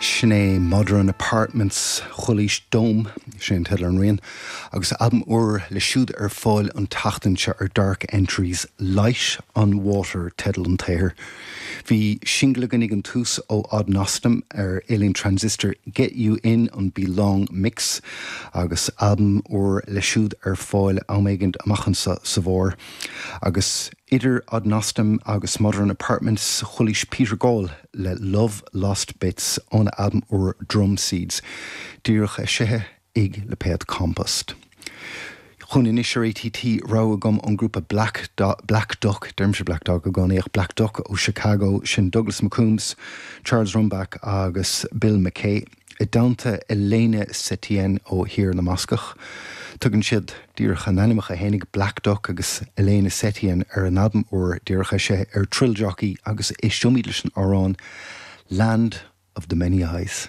Sin é Modern Apartments, Chualaís Dome, sin an teideal ar an rian, agus albam úr leo siúd ar fáil an tseachtain seo ar Dark Entries, Light on Water teideal an tsaothair. Bhí singil againn ag an tús ó Odd Nosdam ar Alien Transistor, Get You In an Belong Mix, agus albam úr leo siúd ar fáil am éigin amach anseo sa bhfómhar. Agus idir Odd Nosdam agus Modern Apartments, chualaís Peter Gall le Love Lost Bits óna albam úr Drum Seeds, díreach eisithe ag lipéad Compost. Chugainn anois ar ATT, rogha agam ón ngrúpa Black Black Duck, deirimse Black Dog i gcónaí ach Black Duck ó Chicago, sin Douglas McCombs, Charles Rumback agus Bill McKay, i dteannta Elena Setien ó Thír na mBascach. Tugann siad díreach a n-ainmneacha fhéinig, Black Duck agus Elena Setien, ar a n-albam úr díreach eisithe ar Thrill Jockey agus éisteoimid leis an amhrán Land of the Many Eyes.